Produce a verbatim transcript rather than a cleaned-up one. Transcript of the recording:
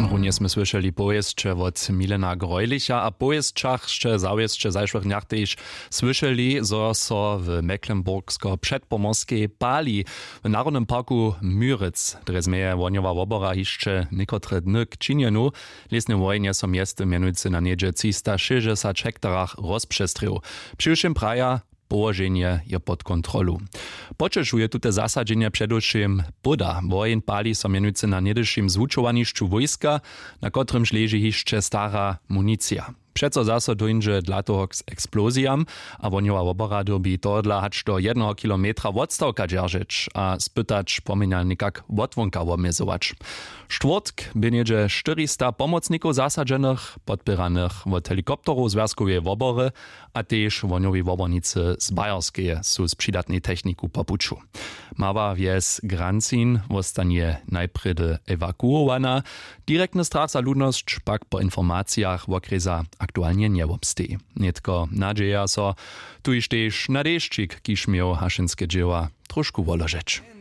Runje smy słyšeli powěsće wot Milena Greulicha a powěsćach sće zawěsće w zašłych dnjach tež słyšeli, zo so w mecklenburgsko předpomorskej pali. W narodnym parku Müritz drje změje wohnjowa wobora hišće někotre dny k činjenu. W lěsnym wojenje so mjeztym mjenujcy na něhdźe třistašěsćdźesać hektarach rozpřestrěł. Přiwšěm praja, połoženje je pod kontrolu. Poćešuje tute zasadźenje předewšěm póda. Woheń pali so mjenujcy na něhdyšim zwučowanišću wójska, na kotrymž leži hišće stara municija. Přeco zaso dóńdźe dla toho k eksplozijam a wohnjowa wobora dyrbi tohodla hač do jedneho kilometra wotstawka dźeržeć a spytać pomjenja někak wotwonka wobmjezować. Štwórtk bě něhdźe štyrista pomocnikow zasadźenych, podpěranych wot helikopterow zwjazkoweje wobory, a tež wohnjowi wobornicy z Bayerskeje su z přidatnej techniku po puću. Mała wjes Granzin wostanje najprjedy ewakuowana. Direktny strach za ludnosć pak po informacijach wokrjesa aktualnje njewobsteji. Nětko nadźeja so tuž tež na dešćik, kiž měł hašenske dźěła trošku woložeć.